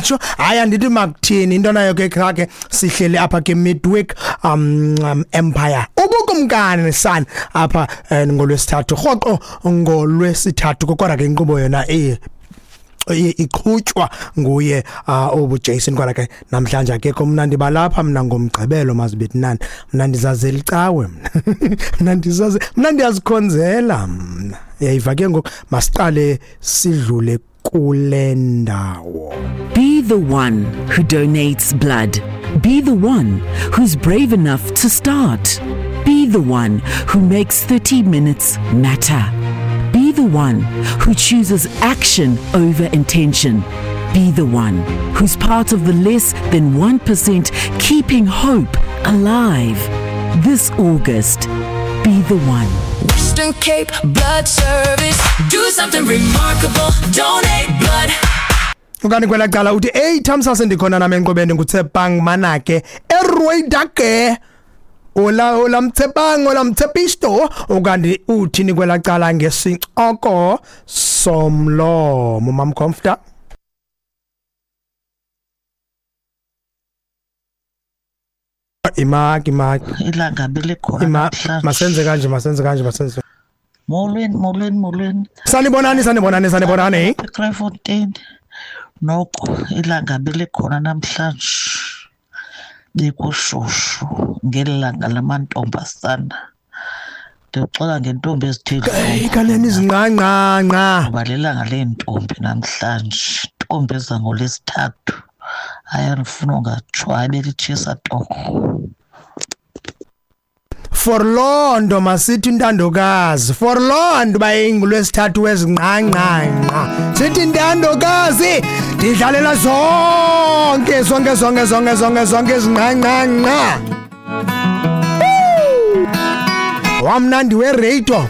Matsho, hayi, andithi makuthini into nayo ke khake sihleli apha ke midweek empire ubukumkani san apha ngolwesithathu rhoqo ngolwesithathu, kodwa ke inkqubo yona iqhutywa nguye obu Jason. Kodwa ke namhlanje akekho. Mna ndibalapha mna ngomgqibelo mazibethinani, mna ndizazela icawe, mna ndizaze, mna ndiyazikhonzela mna. Yayiva ke ngoku, masiqale sidlule kule ndawo. Be the one who donates blood. Be the one who's brave enough to start. Be the one who makes 30 minutes matter. Be the one who chooses action over intention. Be the one who's part of the less than 1% keeping hope alive. This August, be the one. Western Cape Blood Service. Do something remarkable. Donate blood. Ukani kwela cala uthi, "Hey Thamsase, ndikhona nami enkqubeni, nguTsepang Manake eRoydake." Ola ola Mtsepang, ola Mtsepisto. Ukanti uthini kwela cala ngesincoko somlomo, Mamcomfta? Imaki, imaki. Ilanga belikhona Ima. namhlanje. Masenze kanje, masenze kanje, masenze. Molweni, molweni, molweni. Sanibonani, sanibonani, sanibonani. EKraaifontein noko ilanga belikhona namhlanje, bekushushu ngeli langa lamantombazana. Ndixola ngentombi ezithe Hey, kanene izinqanqanqa. Ngoba lilanga leentombi namhlanje, ntombi ezangolwesithathu. Hayi, andifuna ungatsho, hayi, belitshisa torho. For loo nto masithi intandokazi, for loo nto uba ingulwesithathu wezinqanqanqa, sithi intandokazi ndidlalela zonke, zonke, zonke, zonke, zonke, zonke izinqanqanqa. Wamnandi weradio.